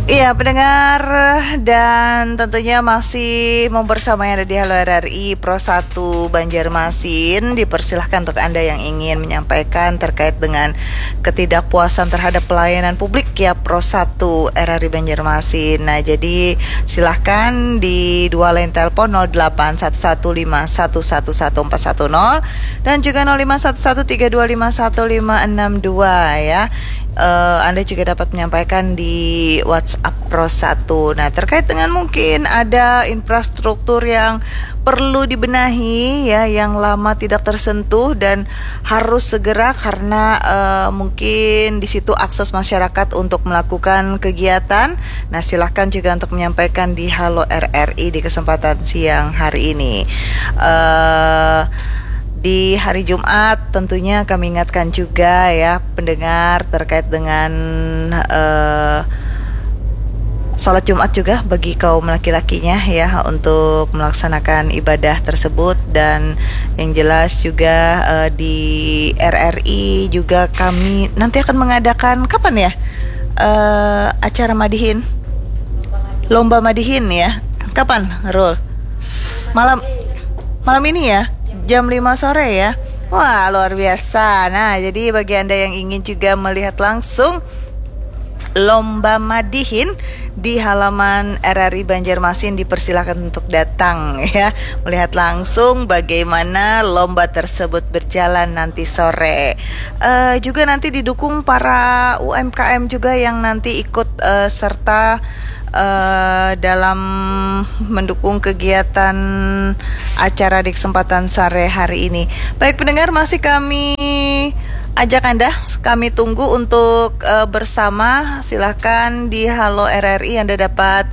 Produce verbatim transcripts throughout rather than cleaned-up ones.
Iya, pendengar, dan tentunya masih membersamai Anda di Halo R R I Pro satu Banjarmasin. Dipersilahkan untuk Anda yang ingin menyampaikan terkait dengan ketidakpuasan terhadap pelayanan publik ya Pro satu R R I Banjarmasin. Nah, jadi silahkan di dua line telepon nol delapan satu satu lima satu satu satu empat satu nol dan juga nol lima satu satu tiga dua lima satu lima enam dua ya. Eh, Anda juga dapat menyampaikan di WhatsApp Pro satu. Nah, terkait dengan mungkin ada infrastruktur yang perlu dibenahi ya, yang lama tidak tersentuh dan harus segera karena eh, mungkin di situ akses masyarakat untuk melakukan kegiatan. Nah, silahkan juga untuk menyampaikan di Halo R R I di kesempatan siang hari ini. Eh di hari Jumat tentunya kami ingatkan juga ya pendengar terkait dengan eh sholat Jumat juga bagi kaum laki-lakinya ya untuk melaksanakan ibadah tersebut, dan yang jelas juga eh, di R R I juga kami nanti akan mengadakan, kapan ya, eh, acara madihin, lomba madihin ya, kapan, Rul? Malam, malam ini ya, jam lima sore ya. Wah, luar biasa. Nah, jadi bagi Anda yang ingin juga melihat langsung lomba madihin di halaman R R I Banjarmasin, dipersilakan untuk datang ya, melihat langsung bagaimana lomba tersebut berjalan nanti sore. Eh, juga nanti didukung para U M K M juga yang nanti ikut eh, serta eh, dalam mendukung kegiatan acara di kesempatan sore hari ini. Baik pendengar, masih kami ajak Anda, kami tunggu untuk eh, bersama. Silahkan di Halo R R I Anda dapat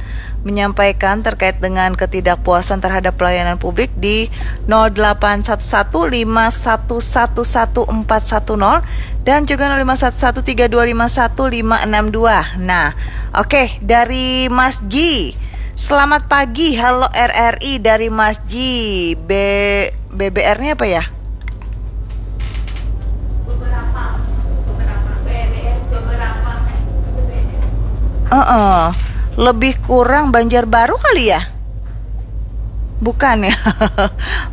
menyampaikan terkait dengan ketidakpuasan terhadap pelayanan publik di nol delapan satu satu lima satu satu satu empat satu nol dan juga nol lima satu satu tiga dua lima satu lima enam dua. Nah, oke, dari Mas Ji. Selamat pagi, halo R R I dari Mas Ji. B B B R-nya apa ya? Heeh. Lebih kurang Banjarbaru kali ya? Bukan ya.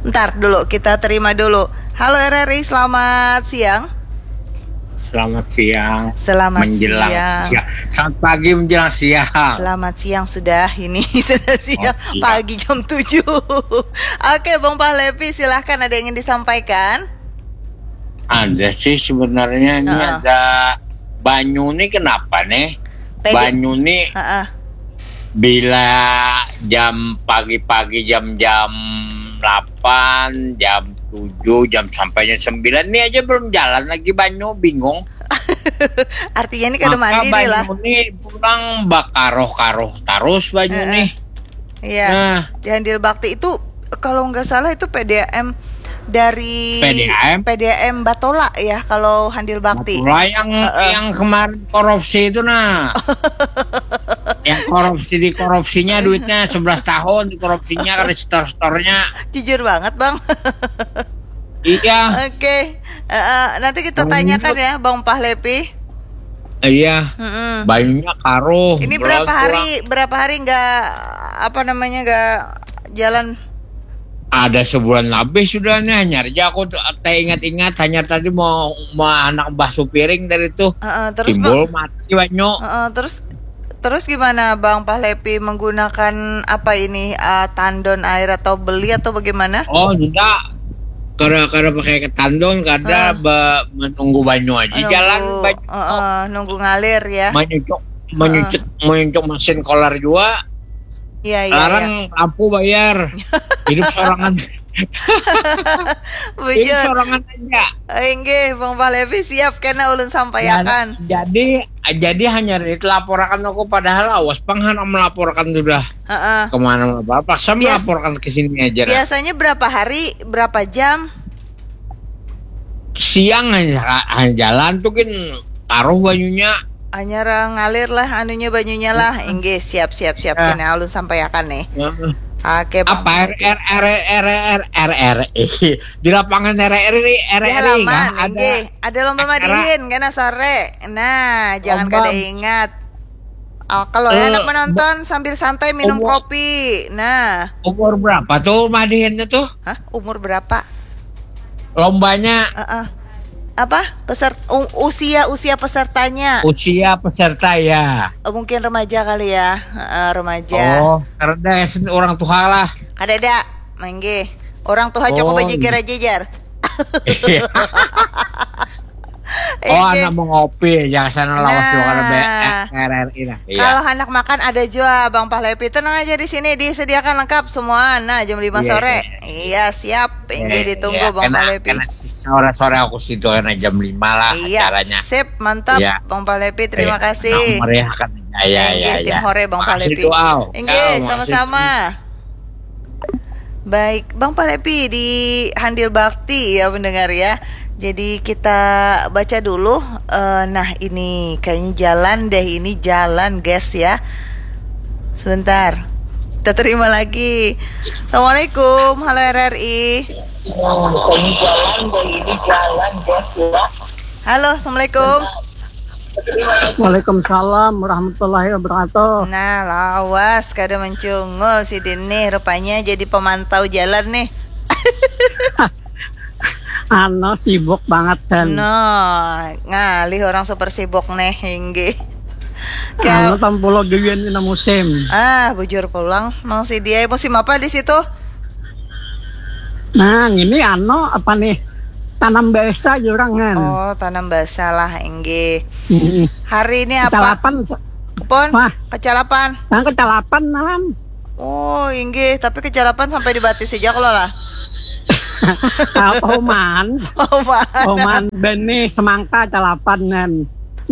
Ntar dulu, kita terima dulu. Halo R R I, selamat siang. Selamat siang. Selamat menjelang siang. Siang. Selamat pagi menjelang siang. Selamat siang sudah ini. Sudah siang. Oh, iya. Pagi jam tujuh. Oke, Bang Pahlevi, silahkan, ada yang ingin disampaikan? Ada sih sebenarnya. Ini uh-uh. Ada banyu nih, kenapa nih? Pede. Banyu nih uh-uh. Bila jam pagi-pagi jam-jam delapan, jam tujuh, jam sampai jam sembilan ini aja belum jalan lagi banyu, bingung. Artinya ini kada mandi nih lah. Maka banyu nih pulang bakaroh-karoh terus banyu uh-uh. Nih. Iya. Nah. Di Handil Bakti itu kalau nggak salah itu P D A M dari P D A M? P D A M Batola ya kalau Handil Bakti. Batola yang uh-uh. Yang kemarin korupsi itu nah. Yang korupsi di korupsinya duitnya sebelas tahun di korupsinya kan store-store-nya. Jujur banget, Bang. Iya. Oke. Uh, uh, nanti kita tanyakan ya Bang Pahlepi. Iya. Mm-mm. Banyunya karuh. Ini berapa hari, berapa hari nggak apa namanya nggak jalan? Ada sebulan lebih sudah nih, hanyar aja aku teh ingat-ingat, hanyar tadi mau mau anak mbah supiring tadi tuh. Uh, uh, terus timbul bang, mati banyu. Uh, uh, terus terus gimana Bang Pahlepi menggunakan apa ini uh, tandon air atau beli atau bagaimana? Oh tidak, kada kada pakai ketandon, kada uh. Be, menunggu banyu aja nunggu, jalan banyu. Uh, uh, nunggu ngalir ya. Menyucuk menyucuk uh. Menyucuk mesin kolar juga. Iya, iya, larang iya. Lampu bayar. Hidup sorangan. Bujur. Hidup sorangan aja. Inggih, Bang Pahlevi siap kena ulun sampaiakan. Jadi jadi hanya dilaporakan aku padahal awas pang handak melaporkan sudah. Heeh. Kemana mana paksa bias, melaporkan ke sini aja. Biasanya berapa hari, berapa jam? Siang hanya, hanya jalan tuh kan taruh banyunya. Hanya ngalir lah anunya banyunya lah. Inggih, siap siap siap. Nah. Kena ulun sampaiakan nih. Nah. Oke, Bang. Apa R R R R R R R di lapangan R R R R R di halaman ada. Inggih, ada lomba madihin kena sore. Nah, jangan kada ingat. Oh, kalau eh, anak menonton sambil santai minum umur, kopi. Nah. Umur berapa tuh madihinnya tuh? Hah? Umur berapa? Lombanya. Uh-uh. Apa? Peserta, usia usia pesertanya. Usia peserta ya. Oh, mungkin remaja kali ya. Uh, remaja. Oh, karena orang tua lah. Kada ada. Mangge. Orang tua oh, cukup aja kira jejar. Oh, anak mau ngopi ya, sana lawas nah. Dua karena R R I nah. Iya. Kalau anak makan ada juga Bang Pahlepi, tenang aja di sini disediakan lengkap semua. Nah, jam lima iya, sore. Iya, iya siap. Ini iya, ditunggu iya, Bang Pahlepi. Sore-sore aku situ karena jam lima lah iya, acaranya. Sip, mantap iya. Bang Pahlepi. Terima iya. Kasih. Meriahkan. Ya, ya, ya, ya. Tim hore Bang Pahlepi. Inggih, sama-sama. Baik, Bang Palepi di Handil Bakti ya pendengar ya. Jadi kita baca dulu. Uh, nah ini kayaknya jalan deh, ini jalan guys ya. Sebentar, kita terima lagi. Assalamualaikum, halo R R I. Nah, ini jalan deh, ini jalan guys ya. Halo, assalamualaikum. Waalaikumsalam warahmatullahi wabarakatuh. Nah, lawas kada mencungul si Din nih, rupanya jadi pemantau jalan nih. Ano sibuk banget kan. No, ngalih orang super sibuk nih, hinggi. Ano tampulo gawian dina musim. Ah, bujur pulang, mang si dia musim apa di situ? Nah, ini ano apa nih? Tanam basa jurang kan. Oh, tanam basa lah, inggih. Hmm. Hari ini apa? Kecalapan. Pun Wah. Kecalapan. Nah, kecalapan malam. Oh, inggih, tapi kecalapan sampai di batis aja kalau lah. Oman. Oman. Oman bani semangka calapan kan.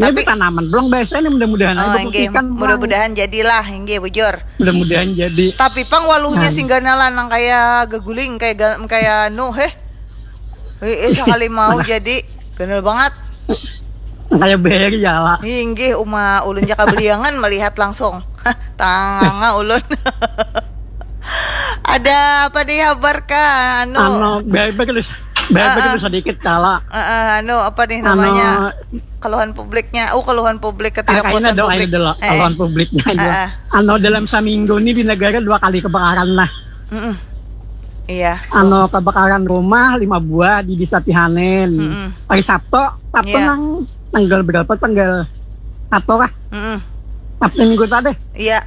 Tapi tanaman belum biasa ini mudah-mudahan oh, inggih, mudah-mudahan jadilah inggih bujur. Mudah-mudahan jadi. Tapi pang waluhnya nah. Singgana lanang kayak geguling kayak kayak nu heh. Eh, sekali mau jadi ganal banget. Kayak beri ya lah. Inggih uma ulun jaka beliangan melihat langsung. Tanganga ulun. Ada apa nih kabar kah? Anu. Anu, beri beri dulu sedikit kala. Uh, uh, anu apa nih namanya? Anu, keluhan publiknya. Oh, keluhan publik ketidakpuasan publik. Dulu, eh. Keluhan publiknya. Uh, uh. Anu dalam seminggu ini di negara dua kali kebakaran lah. Mm-mm. Iya. Ano kebakaran rumah lima buah di Desa Tihanen. Mm-mm. Hari Sabtu, Sabtu yeah. Nang tanggal berapa? Tanggal satu kah? Mm-mm. Sabtu minggu tadi. Iya. Yeah.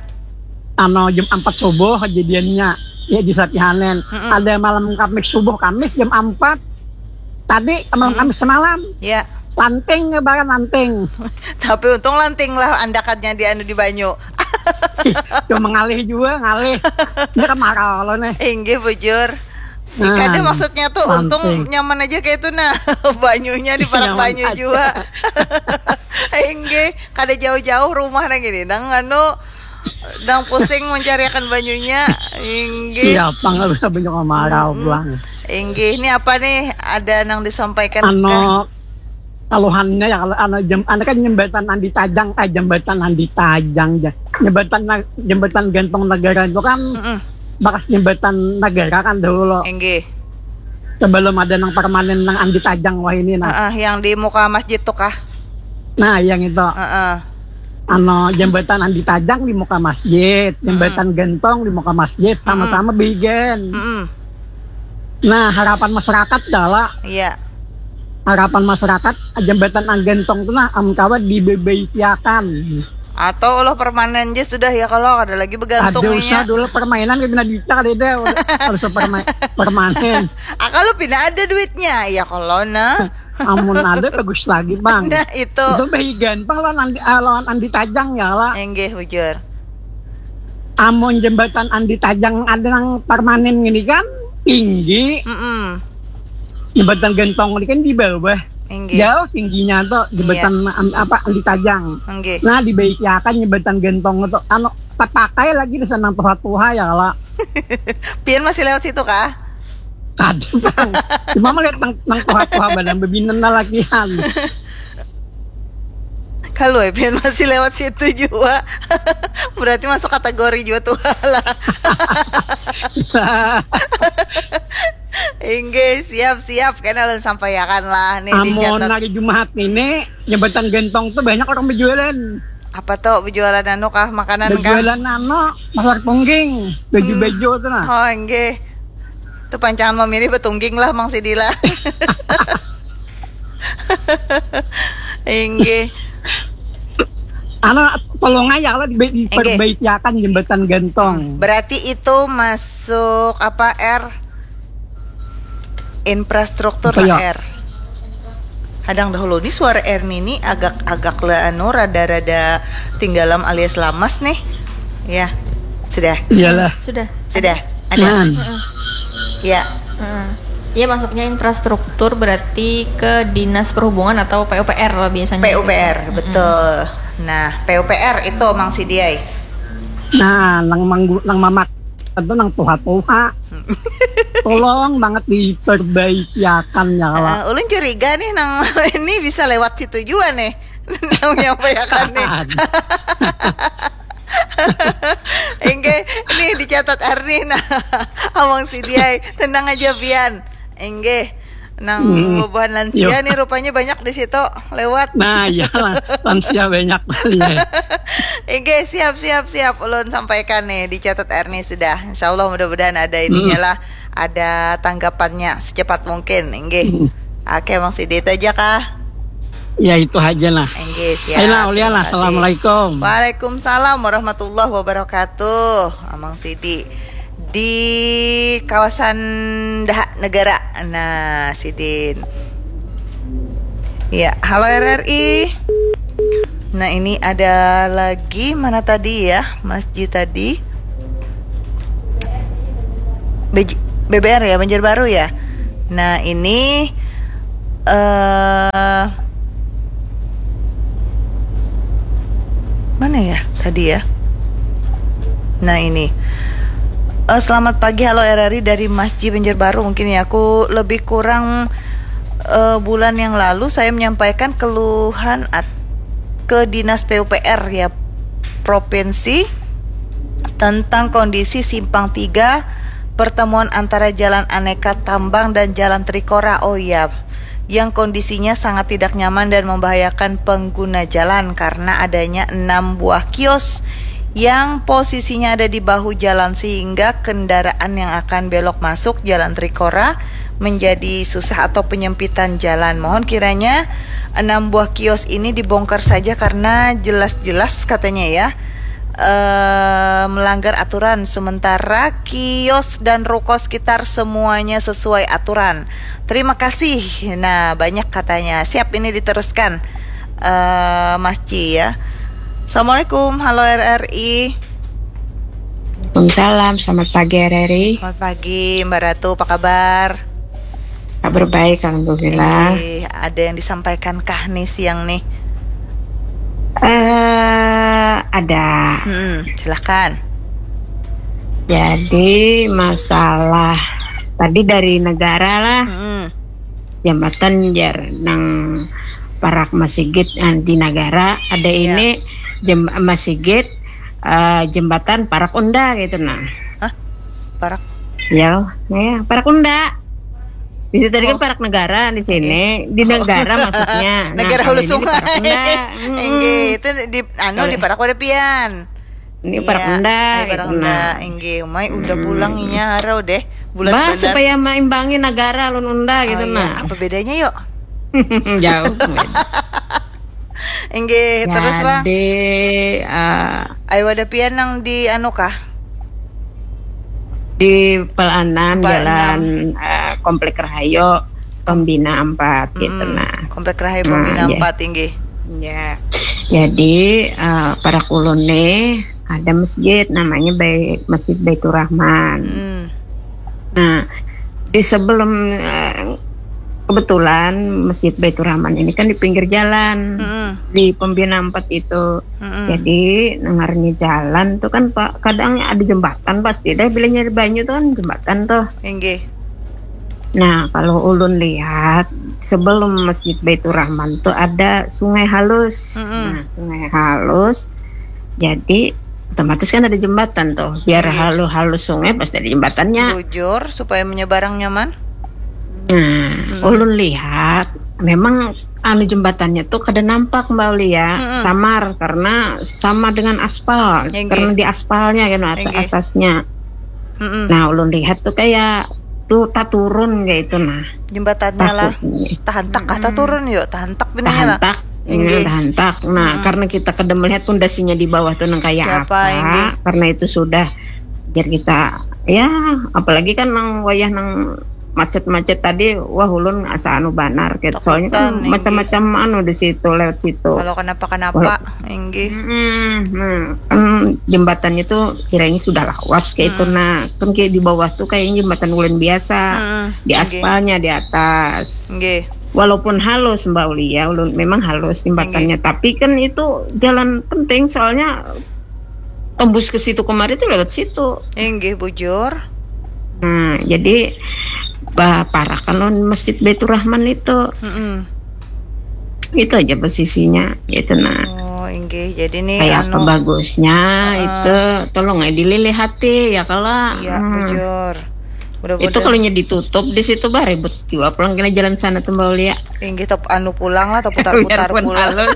Ano jam empat subuh kejadiannya ya di Desa Tihanen. Mm-mm. Ada malam Kamis subuh, Kamis jam empat. Tadi malam mm-mm. Kamis semalam. Iya. Yeah. Lanting lebaran lanting. Tapi untung lanting lah andakannya di anu di banyu. Tuh mengalih juga ngalih. Ini kemarau lo nih. Inggih bujur. Nah, kada maksudnya tuh untung nyaman aja kayak itu nah. Banyunya di parak banyu juga. Inggih, kada jauh-jauh rumah nang ini. Nang anu nang pusing mencariakan banyunya. Inggih. Iya, pang bisa banyak kemarau hmm. Buang. Inggih, ini apa nih? Ada nang disampaikan anu, kaluhannya ya kalau anu jam anu kan jembatan Andi Tajang eh jembatan Andi Tajang jembatan jembatan Gantong Negara itu kan mm -mm. Bakas jembatan negara kan dahulu. Inggih. Sebelum ada nang permanen nang Andi Tajang wah ini nah. Uh, uh, yang di muka masjid tuh kah? Nah, yang itu. Uh, uh. Ano jembatan Andi Tajang di muka masjid, jembatan mm -mm. Gantong di muka masjid sama-sama mm -mm. Bigen. Mm -mm. Nah, harapan masyarakat adalah iya. Harapan masyarakat jembatan Anggentong tu nah am kawa dibebaikiakan. Atau ulah permanen je sudah ya kalau kada lagi begantung inya. Ada usah dulu permainan kada pina duitnya kada ada. Harus perma permanen. Ah kalau pina ada duitnya ya kalau nah. Amun ada bagus lagi bang. Nah itu. Itu bahigan bang lawan Andi, ah, lawan Andi Tajang ya lah. Enggih bujur. Amun jembatan Andi Tajang ada nang permanen gini kan tinggi. Mm -mm. Jembatan Gentong ini kan di bawah. Inggih. Jauh tingginya tuh jembatan yeah. Apa Andi Tajang. Inggih. Nah dibaiki akan jembatan Gentong itu anu terpakai lagi di sana tuha-tuha ya lah. Pian masih lewat situ kah? Aduh bang. Cuma melihat nang nang tuha-tuha badan bebinan lalakian. Kalau Epian masih lewat situ juga. Berarti masuk kategori juga tuh lah. Inggih, siap-siap kena ulun sampaiakan lah nih. Amun dicatat. Hari Jumat ini jembatan Gentong tuh banyak orang berjualan. Apa tuh, bejualan anu kah, makanan kah? Bejualan anu, pasar tungging, baju-baju tuh nah. Oh, enggih. Tuh pancangan memilih betungging lah, Mang Sidi lah. Inggih. Anu, tolong aja lah diperbaiki akan jembatan gantung. Berarti itu masuk apa, R? Infrastruktur lah, R. Hadang dahulu nih, suara Erni nih agak-agak le anu, rada-rada tinggalam alias lamas nih. Ya, sudah. Iyalah. Sudah. Sudah. Ada. Hmm. Ya. Hmm. Ya, masuknya infrastruktur berarti ke dinas perhubungan atau P U P R lah biasanya. P U P R, betul. Nah, P U P R itu, Mang Sidi ai. Nah, nang manggu, nang mamak itu nang tuha-tuha. Tolong banget diperbaiki akan ya lah. Eh, ulun curiga nih, nang ini bisa lewat situ juga nih. Nang menyampaikan nih. Enggih, ini dicatat Erni nah. Amang Sidi ai, tenang aja pian. Enggih. Nang bubuhan lansia nih rupanya banyak di situ lewat. Nah, iya lah, lansia banyak. Iya. Enggih, siap, siap, siap. Ulun sampaikan nih, dicatat Erni sudah. Insya Allah, mudah-mudahan ada ininya lah, ada tanggapannya secepat mungkin. Enggih. Oke, Mang Sidi, itu aja kah? Ya, itu aja lah. Enggih, siap. Ayolah, ulian lah. Terima kasih. Assalamualaikum. Waalaikumsalam warahmatullahi wabarakatuh. Amang Sidi di kawasan Daha Negara. Nah, Sidin. Ya, halo R R I. Nah, ini ada lagi, mana tadi ya, Mas Ji tadi? B J, B B R ya, Banjarbaru ya. Nah, ini eh mana ya tadi ya? Nah, ini. Eh, selamat pagi, halo R R I dari Mas Ji Banjarbaru. Mungkin ya, aku lebih kurang eh, bulan yang lalu saya menyampaikan keluhan at- ke Dinas P U P R ya, provinsi, tentang kondisi simpang tiga pertemuan antara Jalan Aneka Tambang dan Jalan Trikora. Oh iya, yang kondisinya sangat tidak nyaman dan membahayakan pengguna jalan karena adanya enam buah kios yang posisinya ada di bahu jalan, sehingga kendaraan yang akan belok masuk Jalan Trikora menjadi susah atau penyempitan jalan. Mohon kiranya enam buah kios ini dibongkar saja karena jelas-jelas katanya ya, eh, melanggar aturan, sementara kios dan ruko sekitar semuanya sesuai aturan. Terima kasih. Nah, banyak katanya. Siap, ini diteruskan, eh, Mas Ji ya. Assalamualaikum, halo R R I. Waalaikumsalam, selamat pagi R R I. Selamat pagi, Mbak Ratu, apa kabar? Kabar baik, alhamdulillah. Oke, ada yang disampaikan kah nih siang nih? Eh, ada. Hmm, silahkan. Jadi masalah tadi dari negara lah, Hmm, jambatan jar nang parak masigit, eh, di negara ada Iya. ini jem, masigit, eh, jembatan parak unda gitu nah. parak. Ya, ya, parak unda. Di situ tadi kan parak negara, di sini di negara maksudnya. Nah, Negara kalau Hulu ini di Sungai. Parak Unda. Mm-mm. Enggih, itu di anu, di parak wadah pian. Ini parak Iya, unda di parak gitu unda. Nah. Enggih, umai unda pulang inya harau deh. Bulan Bah, benar. Supaya maimbangi negara lun unda gitu Oh, iya. Nah. Apa bedanya yuk? Jauh. Enggih, terus Bang. Jadi eh, Ayo, wadah pian nang di anu kah? Di Pelanan, Pelanan. Jalan eh, Komplek Rahayu, Pembina empat gitu Mm-mm. Nah. Komplek Rahayu Nah, Pembina iya. empat, inggih. Ya. Jadi eh, parak ulun nih ada masjid namanya Bai, Masjid Baitur Rahman. Mm. Nah, di sebelum eh, kebetulan Masjid Baitur Rahman ini kan di pinggir jalan, Mm-mm. di Pembina empat itu. Mm-mm. Jadi nengarnya jalan tuh kan Pak, kadang ada jembatan pasti deh, bila nyari banyu tuh kan jembatan tuh. Inggih. Nah, kalau ulun lihat sebelum Masjid Baitur Rahman tuh ada sungai halus. Mm-mm. Nah, sungai halus. Jadi otomatis kan ada jembatan tuh. Biar Iya. Halus-halus sungai pasti ada jembatannya. Bujur supaya menyeberang nyaman. Nah, ulun lihat memang anu jembatannya tuh kada nampak, Mbak Aulia, samar karena sama dengan aspal, karena di aspalnya kan atas atasnya. Nah, ulun lihat tuh kayak tuh taturun kayak itu nah. Jembatannya lah. Tahantak kah taturun yuk, tahantak bininya lah. Tahantak. Nah, tahantak. Nah, karena kita kada melihat pondasinya di bawah tuh nang kayak apa, karena itu sudah biar kita ya, apalagi kan nang wayah nang macet-macet tadi, wah ulun asa anu banar gitu. Soalnya kan macam-macam anu di situ, lewat situ. Kalau kenapa-kenapa, inggih. Nah, kan jembatannya tuh kiranya sudah lawas kayak itu. Nah, kan kayak di bawah tuh kayaknya jembatan ulun biasa, di aspalnya di atas. Walaupun halus, Mbak Ulia, ulun memang halus jembatannya, tapi kan itu jalan penting soalnya tembus ke situ kemari tuh lewat situ. Inggih, bujur. Nah, jadi bah, parakan lawan Masjid Baitur Rahman itu. Itu aja posisinya, gitu nah. Oh, inggih. Jadi nih kayak anu, apa bagusnya itu, tolong ya dililih hati ya kalau. Iya, bujur. Itu kalau nya ditutup di situ bah ribut juga pulang kena jalan sana tuh Mbak Ulia. Inggih, tep, anu pulang lah, terputar-putar pulang. Halus.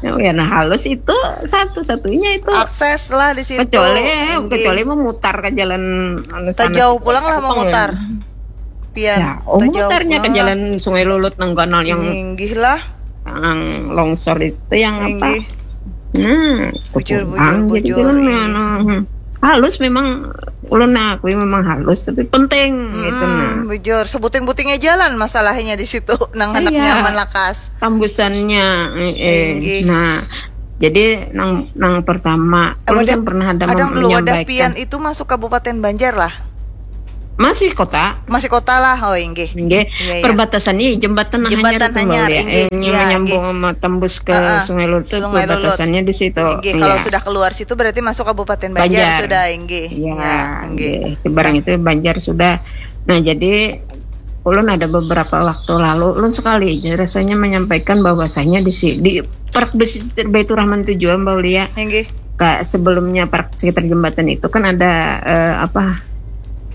Ya, nah halus itu satu-satunya itu. Akses lah di situ. Kecuali, kecuali memutar ke jalan anu sana. Jauh pulang lah memutar. Pian. Ya, oh, memutarnya ke jalan Sungai Lulut nang ganal yang. Inggih lah. Yang longsor itu yang apa? Nah, bujur, bujur, bujur. Halus memang, ulun akui memang halus, tapi penting gitu nah. Bujur, sebuting-butingnya jalan masalahnya di situ, nang hendak nyaman lakas. Tambusannya, eh, nah, jadi nang nang pertama, ulun kan pernah ada, ada menyampaikan. Pian itu masuk Kabupaten Banjar lah. Masih kota. Masih kota lah, oh inggih. Inggih. Iya, iya. Perbatasan ini jembatan, jembatan hanyar, hanyar ya. Inggih, eh, iya, menyambung sama tembus ke uh, Sungai Lulut itu perbatasannya di situ. Inggih, iya. Kalau sudah keluar situ berarti masuk Kabupaten Banjar, Banjar. Sudah, inggih. Iya, iya, inggih. Seberang itu Banjar sudah. Nah, jadi ulun ada beberapa waktu lalu, ulun sekali aja rasanya menyampaikan bahwasanya di si, di Park Besi Baitur Rahman tujuan, Mbak Ulia. Inggih. Ka, sebelumnya park sekitar jembatan itu kan ada uh, apa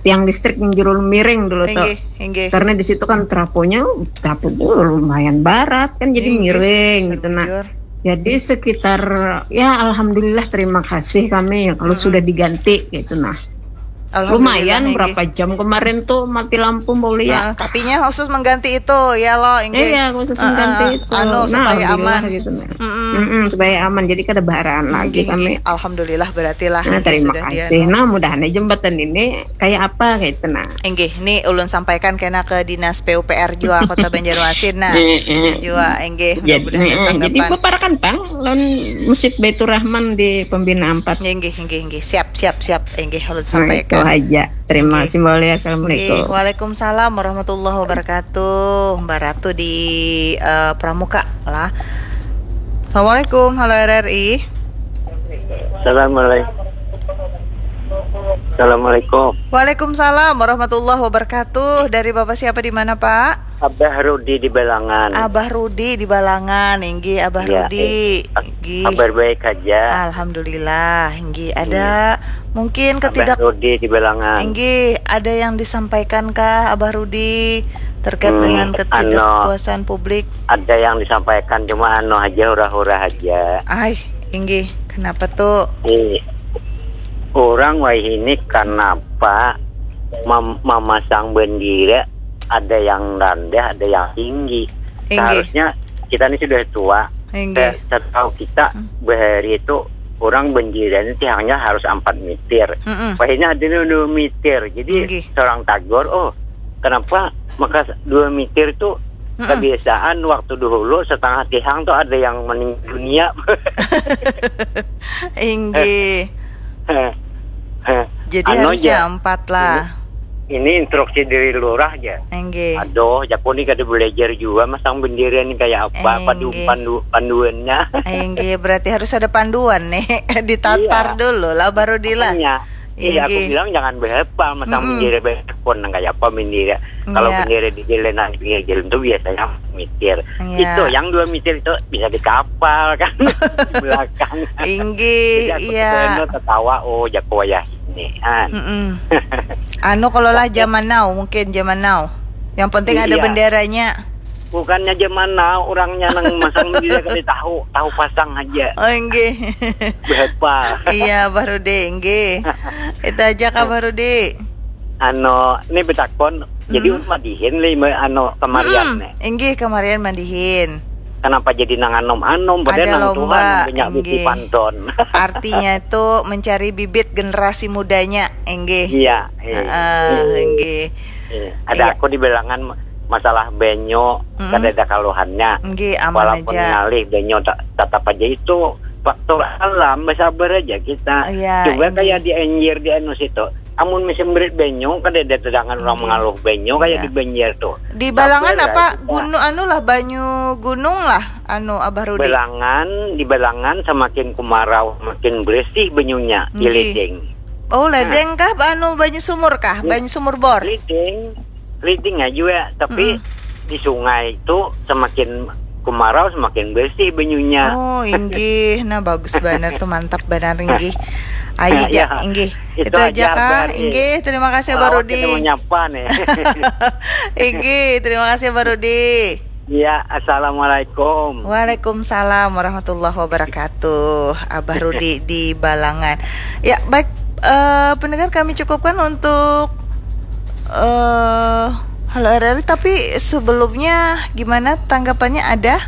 tiang listrik yang jurul miring dulu tuh. Inggih, inggih. Karena di situ kan traponya, traponya lumayan barat kan, jadi inggih, miring gitu nah. Jadi sekitar, ya alhamdulillah, terima kasih kami ya kalau sudah diganti gitu nah. Lumayan berapa jam kemarin tuh mati lampu, Mbak Ulia. Uh, tapinya khusus mengganti itu ya lo, inggih. Iya, khusus uh, mengganti itu. Anu, nah, supaya aman gitu nah. Mm-mm. Mm-mm, supaya aman, jadi kada baharaan lagi kami. Alhamdulillah, berarti lah. Nah, terima kasih. Nah, mudahan jembatan ini kayak apa kayak itu nah. Inggih, ini ulun sampaikan kena ke dinas P U P R jua Kota Banjarmasin nah. Jua, inggih. Jadi, jadi paparakan pang lawan Masjid Baitur Rahman di Pembina empat. Inggih, inggih, inggih. Siap, siap, siap. Inggih, ulun sampaikan. Nah, itu aja. Terima kasih, Mbak Ulia. Assalamualaikum. Inggih, waalaikumsalam warahmatullahi wabarakatuh. Mbak Ratu di uh, Pramuka lah. Assalamualaikum, halo R R I. Assalamualaikum. Assalamualaikum. Waalaikumsalam warahmatullahi wabarakatuh. Dari Bapak siapa, di mana, Pak? Abah Rudi di Balangan. Abah Rudi di Balangan, inggih Abah ya, Rudi. Inggih. Kabar baik aja. Alhamdulillah, inggih. Ada ya. Mungkin ketidak Abah Rudi di Balangan. Inggih, ada yang disampaikan kah Abah Rudi terkait hmm, dengan ketidakpuasan anu, publik? Ada yang disampaikan, cuma anu aja, hura-hura aja. Ay, inggih. Kenapa tuh? Di orang wayah ini kenapa mem- memasang bendera ada yang rendah, ada yang tinggi. Inggih. Seharusnya kita ini sudah tua. Inggih. Setahu kita hmm. Bahari itu orang bendera ini tiangnya harus empat meter. Mm-mm. Wayahnya ada dua meter. Jadi inggih. Seorang tagor, oh kenapa maka dua meter itu mm-mm. Kebiasaan waktu dulu setengah tiang tuh ada yang meninggal dunia. Inggih. Jadi anu harusnya aja. Empat lah. Ini, ini instruksi dari lurah aja. Enggih. Aduh, jaku nih kada belajar juga masang bendera nih kayak apa pandu, pandu, panduannya. Enggih, berarti harus ada panduan nih. Ditatar iya. Dulu lah baru dilah. Iya, aku bilang jangan berhepal masang mm -mm. Bendera berhepal nang kayak apa bendera. Kalau iya. Bendera di jalan di pinggir jalan tuh biasanya meter. Iya. Itu yang dua meter itu bisa di kapal kan di belakang. Inggih, iya. Jadi aku tertawa, oh jaku wayah ini. An. Mm -mm. Anu kalau lah zaman now, mungkin zaman now. Yang penting iya. Ada benderanya. Bukannya zaman now orangnya nang masang dia kada tahu, tahu pasang aja. Oh, inggih. Berapa? Iya, Bah Rudi, inggih. Itu aja kah, Bah Rudi. Anu, ini betakon. Jadi hmm. Madihin li anu kemarian hmm. Nih. Inggih, kemarian madihin. Kenapa jadi nang anom-anom? Padahal nang lomba, Tuhan banyak bisi panton. Artinya itu mencari bibit generasi mudanya, inggih. Iya, iya. Uh, inggih. Iya. Ada iya. Aku dibilangan masalah banyu hmm. Kada ada kaluhannya. Nggih, aman walaupun aja. Ngalih banyu tetap aja itu faktor alam, bersabar aja kita. Iya, coba kayak di anjir di anu situ. Amun musim berit banyu kada ada tedangan orang mengaluh banyu kayak iya. Di banjir tuh. Di balangan apa? Gunung anu lah, banyu gunung lah, anu Abah Rudi. Balangan, di balangan semakin kemarau makin bersih banyunya di ledeng. Oh, ledeng kah? Anu, banyu sumur kah? Banyu sumur bor? Ledeng. Ledeng aja ya, tapi mm-mm. Di sungai itu semakin kemarau semakin bersih banyunya. Oh, inggih. Nah, bagus benar tuh, mantap benar inggih. Ayo, ya, inggih. Itu, itu aja kah? Inggih, terima kasih Barudi. Menyapa nih. Inggih, terima kasih Barudi. Ya, assalamualaikum. Waalaikumsalam warahmatullahi wabarakatuh. Abah Rudi di Balangan. Ya, baik, uh, pendengar, kami cukupkan untuk uh, Halo R R I, tapi sebelumnya gimana tanggapannya, ada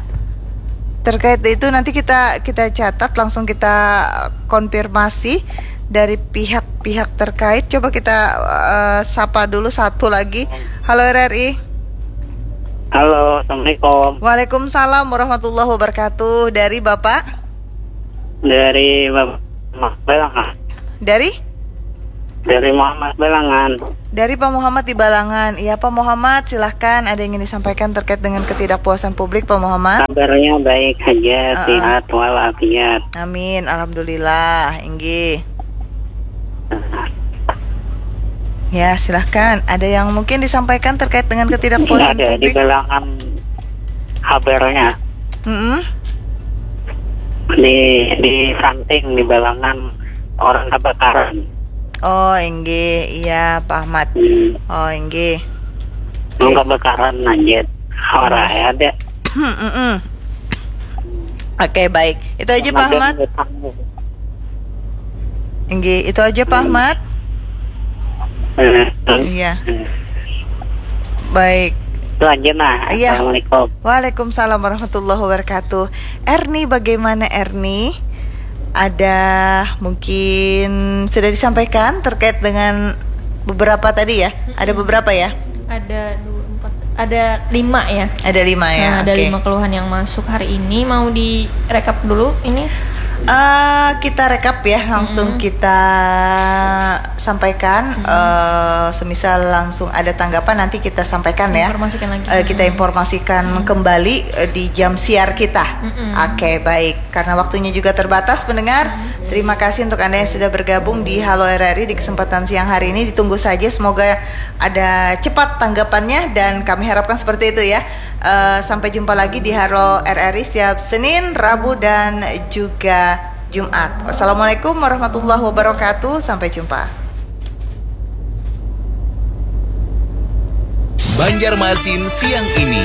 terkait itu? Nanti kita kita catat, langsung kita konfirmasi dari pihak-pihak terkait. Coba kita uh, sapa dulu satu lagi. Halo R R I. Halo, assalamualaikum. Waalaikumsalam warahmatullahi wabarakatuh. Dari Bapak? Dari Bapak Balangan. Dari? Dari Muhammad Balangan. Dari Pak Muhammad di Balangan. Iya, Pak Muhammad, silahkan, ada yang ingin disampaikan terkait dengan ketidakpuasan publik, Pak Muhammad? Kabarnya baik saja, uh-uh. Sehat walafiat. Amin, alhamdulillah. Inggih. Ya, silahkan. Ada yang mungkin disampaikan terkait dengan ketidakpuasan ada publik? Di Balangan kabarnya. Mm-mm. Di di samping di Balangan orang kebakaran. Oh, inggih, iya, Pak Ahmad. Hmm. Oh, inggih. Orang kebakaran lanjut. Orang ada. Oke, baik. Itu aja, Pak Ahmad. Inggih, itu aja, Pak Ahmad. Iya. Baik. Itu aja, nah. Iya. Assalamualaikum. Waalaikumsalam warahmatullahi wabarakatuh. Erni, bagaimana, Erni? Ada mungkin sudah disampaikan terkait dengan beberapa tadi, ya? Ada beberapa, ya? Ada dua, empat, ada lima, ya. Ada lima, ya. Nah, ada lima keluhan yang masuk hari ini. Mau direkap dulu ini? Uh, kita rekap, ya, langsung hmm. Kita sampaikan. Hmm. Uh, semisal langsung ada tanggapan, nanti kita sampaikan, ya. Informasikan lagi. Uh, kita informasikan hmm. Kembali uh, di jam siar kita. Hmm. Oke, baik. Karena waktunya juga terbatas, pendengar. Hmm. Terima kasih untuk Anda yang sudah bergabung di Halo R R I di kesempatan siang hari ini. Ditunggu saja, semoga ada cepat tanggapannya dan kami harapkan seperti itu, ya. Uh, sampai jumpa lagi di Halo R R I setiap Senin, Rabu, dan juga Jumat. Wassalamualaikum warahmatullahi wabarakatuh. Sampai jumpa. Banjarmasin siang ini.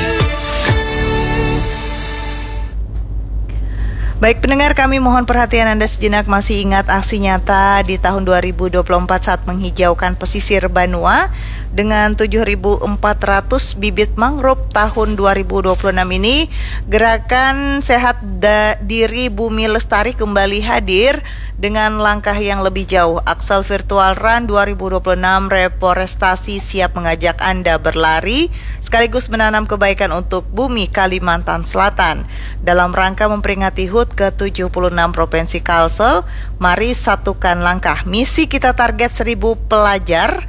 Baik, pendengar, kami mohon perhatian Anda sejenak. Masih ingat aksi nyata di tahun dua ribu dua puluh empat saat menghijaukan pesisir Banua dengan tujuh ribu empat ratus bibit mangrove tahun dua ribu dua puluh enam ini? Gerakan Sehat Da- Diri Bumi Lestari kembali hadir dengan langkah yang lebih jauh. Axel Virtual Run dua ribu dua puluh enam Reforestasi siap mengajak Anda berlari sekaligus menanam kebaikan untuk bumi Kalimantan Selatan. Dalam rangka memperingati HUT ke tujuh puluh enam Provinsi Kalsel, mari satukan langkah. Misi kita target seribu pelajar,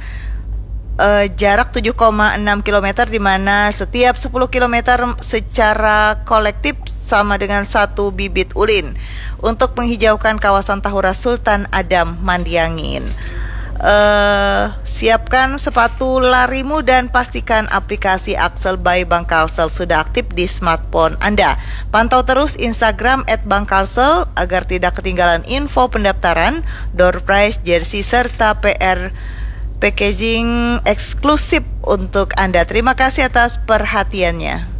eh, jarak tujuh koma enam kilometer, di mana setiap sepuluh kilometer secara kolektif sama dengan satu bibit ulin untuk menghijaukan kawasan Tahura Sultan Adam Mandiangin. Eh, siapkan sepatu larimu dan pastikan aplikasi Axel by Bank Kalsel sudah aktif di smartphone Anda. Pantau terus Instagram at Bank Kalsel agar tidak ketinggalan info pendaftaran, door prize, jersey, serta P R packaging eksklusif untuk Anda. Terima kasih atas perhatiannya.